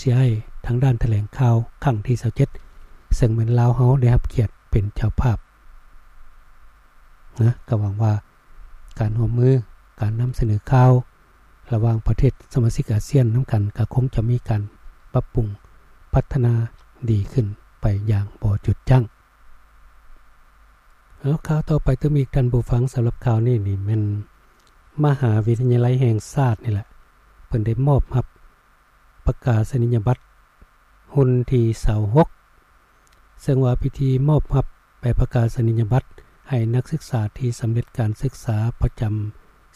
ຊິໃຫ້ທາງດ້ານຖະແຫຼງຂ່າວຄັ້ງທີຊາວເຈັດ ເຊິ່ງແມ່ນລາວເຮົາໄດ້ຮັບກຽດເປັນເຈົ້າພາບນະ. ກໍຫວັງວ່າການຮ່ວມມື, ການນຳສະເໜີຂ່າວ ລະຫວ່າງປະເທດສະມາຊິກອາຊຽນນຳກັນ ກໍຄົງຈະມີການປັບປຸງພັດທະນາດີຂຶ້ນໄປຢ່າງບໍ່ຢຸດຢັ້ງ. ເອົາ ຂ່າວຕໍ່ໄປຕື່ມອີກທ່ານຜູ້ຟັງ. ສຳລັບຂ່າວນີ້ນີ້ແມ່ນມະຫາວິທະຍາໄລແຫ່ງຊາດນີ້ແຫຼະ ເພິ່ນໄດ້ມອບຮັບປະກາສະນີຍະບັດຮຸ່ນທີຊາວຫົກ ເຊິ່ງວ່າພິທີມອບຮັບໃບປະກາສະນີຍະບັດໃຫ້ນັກສຶກສາທີ່ສຳເລັດການສຶກສາປະຈຳ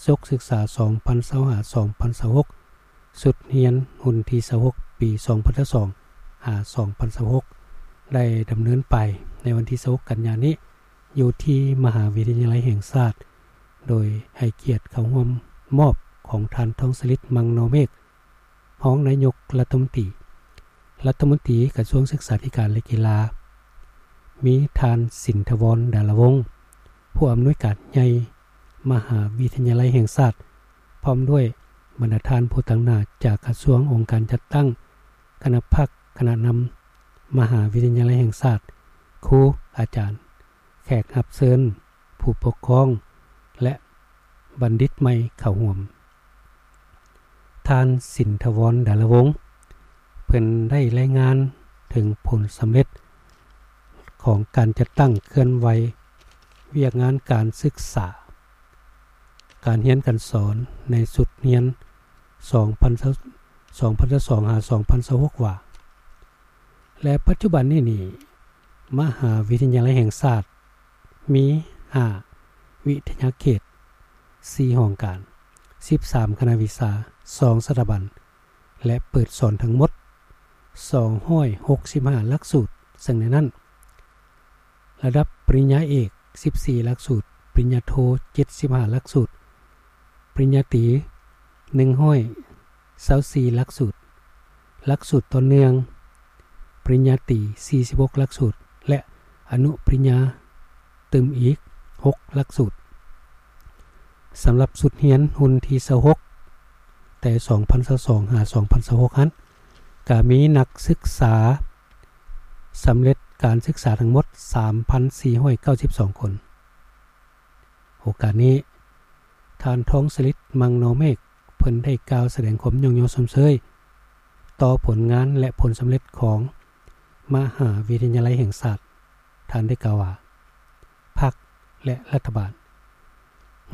ສົກສຶກສາສອງພັນຊາວຫ້າ ສອງພັນຊາວຫົກ ຊຸດຮຽນຮຸ່ນທີຊາວຫົກ ປີສອງພັນຊາວສອງ ຫາ ສອງພັນຊາວຫົກ ໄດ້ດຳເນີນໄປໃນວັນທີຊາວຫົກ ກັນຍານີ້ ຢູ່ທີ່ມະຫາວິທະຍາໄລແຫ່ງຊາດ ໂດຍໃຫ້ກຽດເຂົ້າຮ່ວມມອບຂອງທ່ານ ທອງສະລິດ ມັງນໍເມກ ຮອງນາຍົກລັດຖະມົນຕີ, ລັດຖະມົນຕີກະຊວງສຶກສາທິການ ແລະ ກິລາ, ມີທ່ານ ສິນທະວອນ ດາລະວົງ ຜູ້ອຳນວຍການໃຫຍ່ມະຫາວິທະຍາໄລແຫ່ງຊາດ ພ້ອມດ້ວຍບັນດາທ່ານຜູ້ຕາງໜ້າຈາກກະຊວງ, ອົງການຈັດຕັ້ງ, ຄະນະພັກ, ຄະນະນຳມະຫາວິທະຍາໄລແຫ່ງຊາດ, ຄູ, ອາຈານ, ແຂກຮັບເຊີນ, ຜູ້ປົກຄອງ ແລະ ບັນດິດໃໝ່ເຂົ້າຮ່ວມ. ທ່ານ ສິນທະວອນ ດາລະວົງ ເພິ່ນໄດ້ລາຍງານເຖິງຜົນສຳເລັດຂອງການຈັດຕັ້ງເຄື່ອນໄຫວວຽກງານການສຶກສາ, ການຮຽນການສອນໃນຊຸດຮຽນສອງພັນຊາວສອງ ສອງພັນຊາວສອງ ຫາ ສອງພັນຊາວຫົກ ວ່າ ແລະ ປັດຈຸບັນນີ້ນີ້ ມະຫາວິທະຍາໄລແຫ່ງຊາດມີຫ້າວິທະຍາເຂດ, ສີ່ຫ້ອງການ, ສິບສາມຄະນະວິຊາ, ສອງສະຖາບັນ ແລະ ເປີດສອນທັງໝົດສອງຮ້ອຍຫົກສິບຫ້າຫຼັກສູດ, ເຊິ່ງໃນນັ້ນ ລະດັບປະລິນຍາເອກ ສິບສີ່ຫຼັກສູດ, ປະລິນຍາໂທ ເຈັດສິບຫ້າຫຼັກສູດ, ປະລິນຍາຕີ ໜຶ່ງຮ້ອຍຊາວສີ່ຫຼັກສູດ, ຫຼັກສູດຕໍ່ເນື່ອງ ປະລິນຍາຕີ ສີ່ສິບຫົກຫຼັກສູດ ແລະ ອະນຸປະລິນຍາຕື່ມອີກຫົກຫຼັກສູດ. ສຳລັບຊຸດຮຽນຮຸ່ນທີຊາວຫົກ ແຕ່ສອງພັນຊາວສອງ ຫາ ສອງພັນຊາວຫົກ ຫັ້ນ ກະມີນັກສຶກສາສຳເລັດການສຶກສາທັງໝົດ ສາມພັນສີ່ຮ້ອຍເກົ້າສິບສອງຄົນ. ໂອກາດນີ້ ທ່ານ ທອງສະລິດ ມັງນໍເມກ ເພິ່ນໄດ້ກ່າວສະແດງຄວາມຍ້ອງຍໍຊົມເຊີຍຕໍ່ຜົນງານ ແລະ ຜົນສຳເລັດຂອງມະຫາວິທະຍາໄລແຫ່ງຊາດ. ທ່ານໄດ້ກ່າວວ່າ ພັກ ແລະ ລັດຖະບານ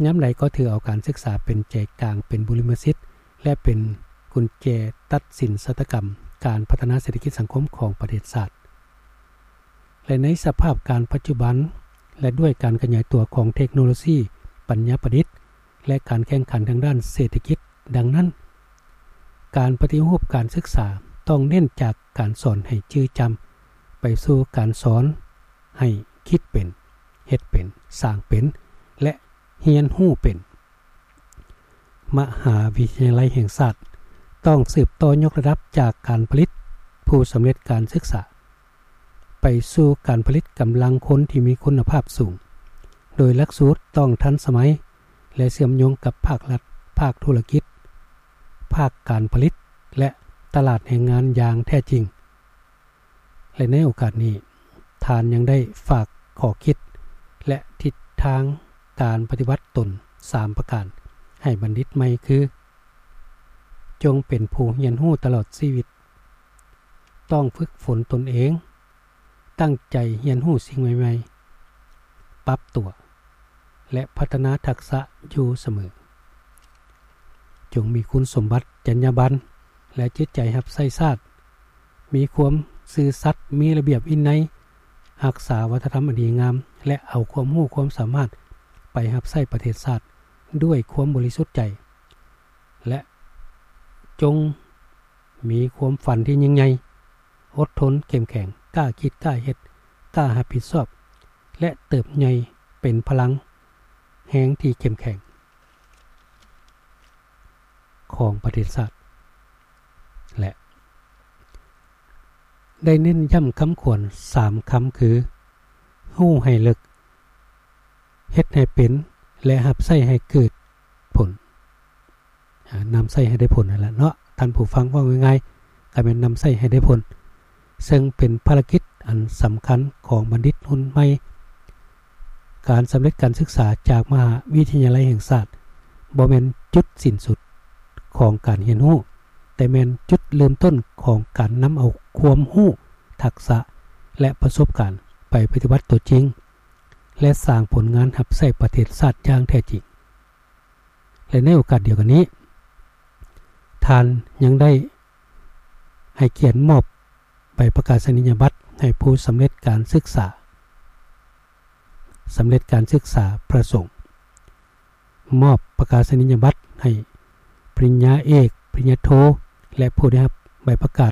ຍາມໃດກໍຖືເອົາການສຶກສາເປັນໃຈກາງ, ເປັນບຸລິມະສິດ ແລະ ເປັນກຸນແຈຕັດສິນຊະຕາກຳການພັດທະນາເສດຖະກິດສັງຄົມຂອງປະເທດຊາດ. ແລະ ໃນສະພາບການປັດຈຸບັນ ແລະ ດ້ວຍການຂະຫຍາຍຕົວຂອງເທັກໂນໂລຊີ, ປັນຍາປະດິດ ແລະ ການແຂ່ງຂັນທາງດ້ານເສດຖະກິດ, ດັ່ງນັ້ນ ການປະຕິຮູບການສຶກສາຕ້ອງເນັ້ນຈາກການສອນໃຫ້ຈື່ຈຳ ໄປສູ່ການສອນໃຫ້ຄິດເປັນ, ເຮັດເປັນ, ສ້າງເປັນ ແລະ ຮຽນຮູ້ເປັນ. ມະຫາວິທະຍາໄລແຫ່ງຊາດຕ້ອງສືບຕໍ່ຍົກລະດັບຈາກການຜະລິດຜູ້ສຳເລັດການສຶກສາ ໄປສູ່ການຜະລິດກຳລັງຄົນທີ່ມີຄຸນນະພາບສູງ, ໂດຍຫຼັກສູດຕ້ອງທັນສະໄໝ ແລະ ເຊື່ອມໂຍງກັບພາກລັດ, ພາກທຸລະກິດ, ພາກການຜະລິດ ແລະ ຕະຫຼາດແຮງງານຢ່າງແທ້ຈິງ. ແລະ ໃນໂອກາດນີ້ ທ່ານຍັງໄດ້ຝາກຂໍ້ຄິດ ແລະ ທິດທາງການປະຕິບັດຕົນສາມປະການໃຫ້ບັນດິດໃໝ່ຄື: ຈົ່ງເປັນຜູ້ຮຽນຮູ້ຕະຫຼອດຊີວິດ, ຕ້ອງຝຶກຝົນຕົນເອງ, ຕັ້ງໃຈຮຽນຮູ້ສິ່ງໃໝ່ໆ, ປັບຕົວ ແລະ ພັດທະນາທັກສະຢູ່ສະເໝີ. ຈົ່ງມີຄຸນສົມບັດ, ຈັນຍາບັນ ແລະ ຈິດໃຈຮັບໃຊ້ຊາດ, ມີຄວາມຊື່ສັດ, ມີລະບຽບວິໄນ, ຮັກສາວັດທະນະທຳອັນດີງາມ ແລະ ເອົາຄວາມຮູ້ຄວາມສາມາດໄປຮັບໃຊ້ປະເທດຊາດດ້ວຍຄວາມບໍລິສຸດໃຈ ແລະ ຈົ່ງມີຄວາມຝັນທີ່ຍິ່ງໃຫຍ່, ອົດທົນ, ເຂັ້ມແຂງ, ກ້າຄິດ, ກ້າເຮັດ, ກ້າຮັບຜິດຊອບ ແລະ ເຕີບໃຫຍ່ເປັນພະລັງແຮງທີ່ເຂັ້ມແຂງຂອງປະເທດຊາດ ແລະ ໄດ້ເນັ້ນຢ້ຳຄຳຂວັນສາມຄຳຄື: ຮູ້ໃຫ້ເລິກ, ເຮັດໃຫ້ເປັນ ແລະ ຮັບໃຊ້ໃຫ້ເກີດຜົນ. ອາ ນຳໃຊ້ໃຫ້ໄດ້ຜົນນັ້ນແຫຼະເນາະ ທ່ານຜູ້ຟັງ. ເວົ້າງ່າຍໆ ກໍແມ່ນນຳໃຊ້ໃຫ້ໄດ້ຜົນ, ເຊິ່ງເປັນພາລະກິດອັນສຳຄັນຂອງບັນດິດຮຸ່ນໃໝ່. ການສຳເລັດການສຶກສາຈາກມະຫາວິທະຍາໄລແຫ່ງຊາດ ບໍ່ແມ່ນຈຸດສິ້ນສຸດຂອງການຮຽນຮູ້, ແຕ່ແມ່ນຈຸດເລີ່ມຕົ້ນຂອງການນຳເອົາຄວາມຮູ້, ທັກສະ ແລະ ປະສົບການໄປປະຕິບັດຕົວຈິງ ແລະ ສ້າງຜົນງານຮັບໃຊ້ປະເທດຊາດຢ່າງແທ້ຈິງ. ແລະ ໃນໂອກາດດຽວກັນນີ້, ທ່ານຍັງໄດ້ໃຫ້ກຽດມອບໃບປະກາສະນີຍະບັດໃຫ້ຜູ້ສຳເລັດການສຶກສາ, ສຳເລັດການສຶກສາປະສົງ, ມອບປະກາສະນີຍະບັດໃຫ້ປະລິນຍາເອກ, ປະລິນຍາໂທ ແລະ ຜູ້ໄດ້ຮັບໃບປະກາ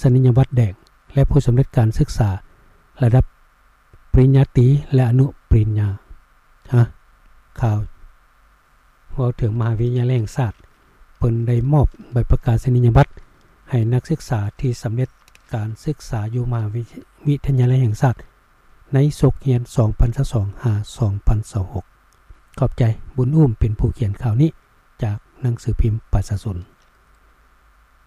ສະນີຍະບັດແດງ ແລະ ຜູ້ສຳເລັດການສຶກສາລະດັບປະລິນຍາຕີ ແລະ ອະນຸປະລິນຍາ. ຮະ ຂ່າວເວົ້າເຖິງມະຫາວິທະຍາໄລແຫ່ງຊາດ ເພິ່ນໄດ້ມອບໃບປະກາສະນີຍະບັດໃຫ້ນັກສຶກສາທີ່ສຳເລັດການສຶກສາຢູ່ມະຫາວິທະຍາໄລແຫ່ງຊາດ ໃນສົກຮຽນສອງພັນຊາວສອງ ຫາ ສອງພັນຊາວຫົກ. ຂອບໃຈ. ບຸນອູ້ມເປັນຜູ້ຂຽນຂ່າວນີ້ຈາກໜັງສືພິມປະຊາຊົນ.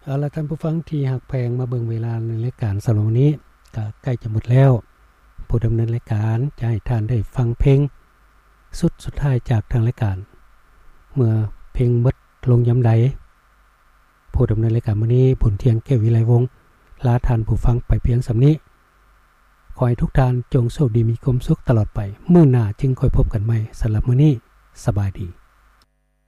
ເອົາລະ ທ່ານຜູ້ຟັງທີ່ຮັກແພງ, ມາເບິ່ງເວລາໃນລາຍການສຳລັບມື້ນີ້ກໍໃກ້ຈະໝົດແລ້ວ. ຜູ້ດຳເນີນລາຍການຈະໃຫ້ທ່ານໄດ້ຟັງເພງຊຸດສຸດທ້າຍຈາກທາງລາຍການ. ເມື່ອເພງໝົດລົງຍາມໃດ, ຜູ້ດຳເນີນລາຍການມື້ນີ້ ບຸນທ່ຽງ ແກ້ວວິໄລວົງ ລາທ່ານຜູ້ຟັງໄປພຽງສ່ຳນີ້. ຂໍໃຫ້ທຸກທ່ານຈົ່ງໂຊກດີມີຄວາມສຸກຕະຫຼອດໄປ. ມື້ໜ້າຈຶ່ງຄ່ອຍພົບກັນໃໝ່. ສຳລັບມື້ນີ້, ສະບາຍດີ.